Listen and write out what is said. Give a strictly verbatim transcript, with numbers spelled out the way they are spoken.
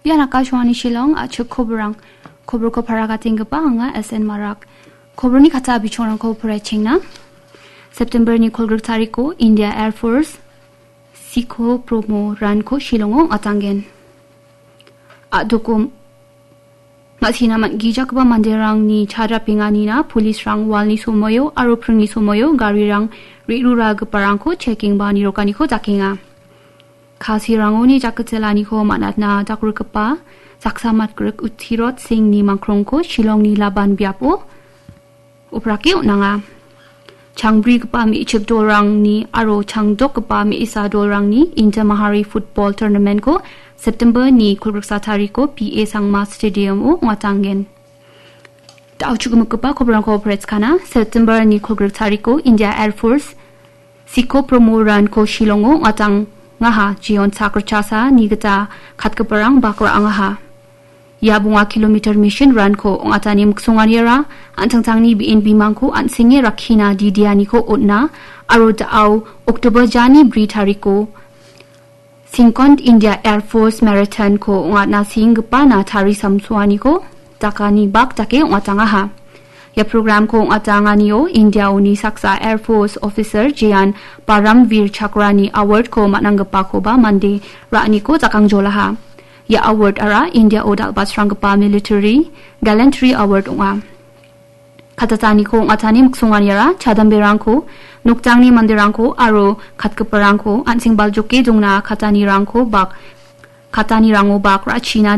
Bian Akashwani Shillong, a·chik koborang. Koborko paragatenggipa anga S N Marak. Koborni kata bichongrangko poraichengna. September ni kolgrik tariko India Air Force Sikho Promo Ranko Shillongo ong·atanggen. A·doko ma·sina man-, gijakgipa manderangni chadrapenganina polisrang walni somoio aro pringni somoio garirang re·ruragiparangko checking ba nirokaniko dakenga. Kasirangoni jakketelaniko man·atna dakrikgipa saksa matgrik Utirot Singhni mangkrongko Shillongni Laban biapo oprake on·anga. Changbrigipa me·chik dolrangni aro changdokgipa me·sa dolrangni Inter Mahari Football Tournamentko September ni kolgriksa tariko P A Sangma Stadiumo ong·atanggen. Da·o chugimikgipa koborangko poretskana. September ni kolgrik tariko India Air Force Sikho Promo Ranko Shillongo ong·atangaha. Jeon sak ritchasa ni gita katgiparang bak ra·angaha. Ia bonga kilometer mission ranko ong·atani miksonganiara an·tangtangni be·en bimangko an·senge rakkina didianiko on·a aro da·o October jani bri tariko Singkon India Air Force Marathon-ko ong·atna senggipa na tari samsoaniko dakani bak dake ong·atangaha. Ia program-ko ong·atanganio India-oni saksa Air Force officer Jean Paramvir Chakrani award-ko man·anggipakoba mande ra·aniko jakangjolaha. Ia award-ara India-o dal·batsranggipa Military Gallantry Award ong·a. Katataniko ong·atani miksonganiara chadamberangko, nokdangni manderangko aro katgiparangko an·seng baljoke dongna katanirangko bak, katanirango bak ra·china